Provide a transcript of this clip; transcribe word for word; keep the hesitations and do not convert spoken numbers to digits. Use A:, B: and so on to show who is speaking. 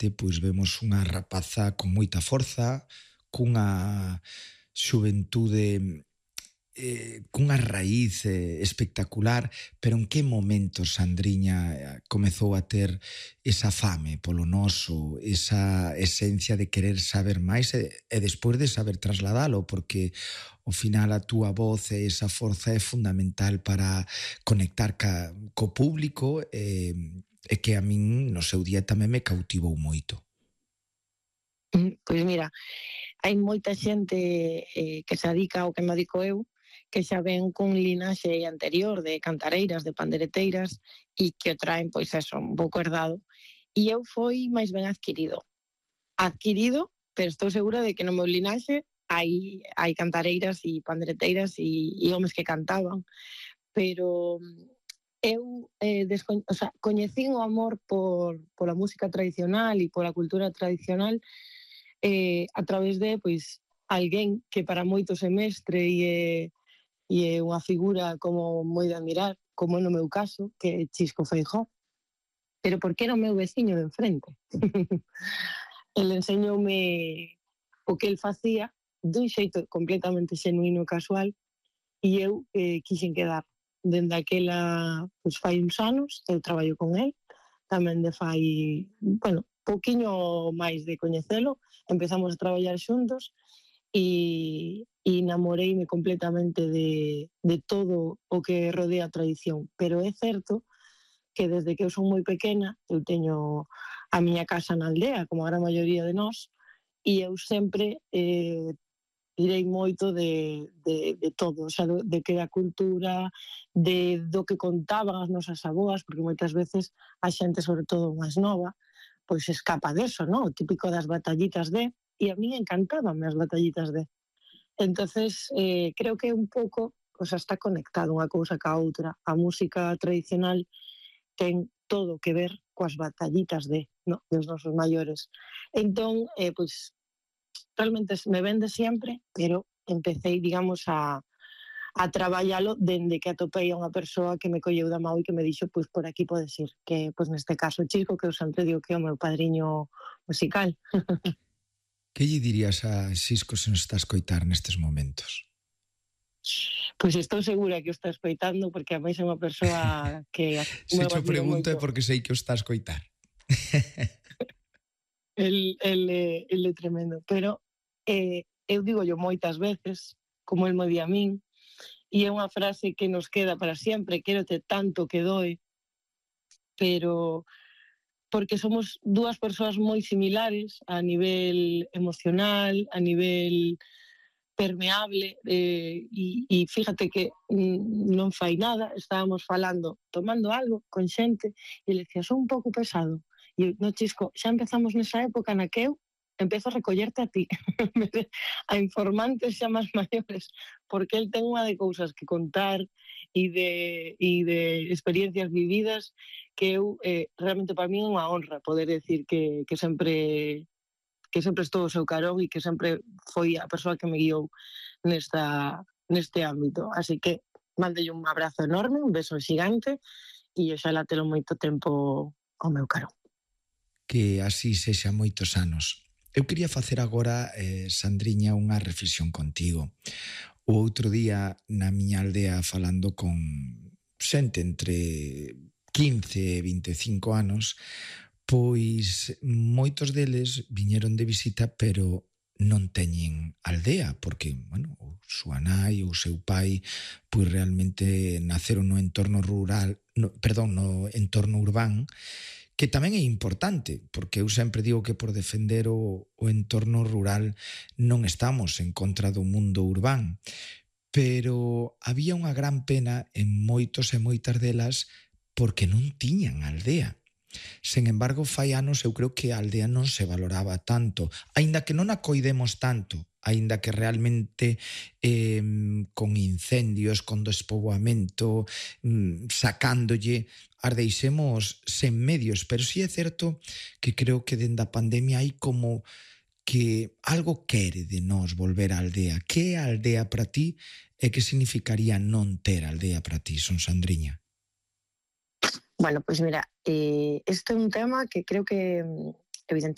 A: parte, pois vemos unha rapaza con moita forza, cunha xuventude eh, cunha raíz eh, espectacular, pero en que momento Sandriña eh, comezou a ter esa fame polo noso, esa esencia de querer saber máis e, e despois de saber trasladalo, porque ao final a túa voz e esa forza é fundamental para conectar ca, co público e, e que a min no seu día tamén me cautivou moito.
B: Pois mira, hai moita xente eh, que se adica ao que me adico eu, que xa ven cun linaxe anterior de cantareiras, de pandereteiras, e que o traen, pois eso, un pouco herdado. E eu foi máis ben adquirido. Adquirido, pero estou segura de que no meu linaxe hai, hai cantareiras e pandereteiras e, e homes que cantaban. Pero eu eh, desco- o sea, coñecín o amor por, pola música tradicional e pola cultura tradicional eh, a través de, pois, alguén que para moitos é mestre e é, e é unha figura como moi de admirar, como no meu caso, que é Chisco Feijóo. Pero porque era o meu veciño de enfrente. El enseñoume o que el facía dun xeito completamente xenuino e casual e eu eh, quixen quedar. Dende aquela, pois fai uns anos, eu traballo con el, tamén de fai, bueno, pouquiño máis de coñecelo, empezamos a traballar xuntos e, e namoreime completamente de, de todo o que rodea a tradición. Pero é certo que desde que eu son moi pequena, eu teño a miña casa na aldea, como a gran maioría de nós, e eu sempre eh, tirei moito de, de, de todo, o sea, de que da cultura, de do que contaban as nosas aboas, porque moitas veces a xente, sobre todo máis nova, pois escapa deso, non? O típico das batallitas de, e a mí encantaban as batallitas de. Entonces, eh, creo que un pouco, o sea, está conectado unha cousa ca outra. A música tradicional ten todo que ver coas batallitas de, no, dos nosos maiores. Entón, eh, pois, realmente me vende sempre, pero empecé, digamos, a, a traballalo dende que atopei a unha persoa que me colleu da mão e que me dixo, pois por aquí podes ir, que pois neste caso Chisco, que eu sempre digo que é o meu padriño musical.
A: Que lle dirías a Xisco se nos está a escoitar nestes momentos?
B: Pois estou segura que o está escoitando, porque a máis é unha persoa que
A: se te pregunto é porque sei que o está a escoitar.
B: el, el, el é tremendo, pero eh, eu digo yo moitas veces, como el me di a min, e é unha frase que nos queda para sempre, quérote tanto que doe, pero porque somos dúas persoas moi similares a nivel emocional, a nivel permeable, eh, e, e fíjate que mm, non fai nada, estábamos falando, tomando algo con xente, e le decía, son un pouco pesado. E eu, no, Chisco, xa empezamos nesa época na que eu empezo a recollerte a ti, a informantes xa máis maiores, porque el ten unha de cousas que contar e de, e de experiencias vividas que eu, eh, realmente para mí é unha honra poder decir que, que sempre que sempre estou ao seu carón e que sempre foi a persoa que me guiou nesta, neste ámbito. Así que mandelle un abrazo enorme, un beso xigante e oxalá telo moito tempo ao meu carón.
A: Que así sexa moitos anos. Eu quería facer agora, eh, Sandriña, unha reflexión contigo. O outro día na miña aldea falando con xente entre quince e vinte e cinco anos, pois moitos deles viñeron de visita, pero non teñen aldea, porque, bueno, o súa nai ou o seu pai, pois realmente naceron no entorno rural, no, perdón, no entorno urbán, que tamén é importante, porque eu sempre digo que por defender o, o entorno rural non estamos en contra do mundo urbán, pero había unha gran pena en moitos e moitas delas porque non tiñan aldea. Sen embargo, fai anos eu creo que a aldea non se valoraba tanto, aínda que non a coidemos tanto, aínda que realmente eh, con incendios, con despoboamento, mm, sacándolle, as deixemos sen medios, pero sí é certo que creo que dende a pandemia hai como que algo quere de nós volver á aldea. Que é a aldea para ti e que significaría non ter aldea para ti, Son Sandriña?
B: Bueno, pois pues mira, eh, este é un tema que creo que evidentemente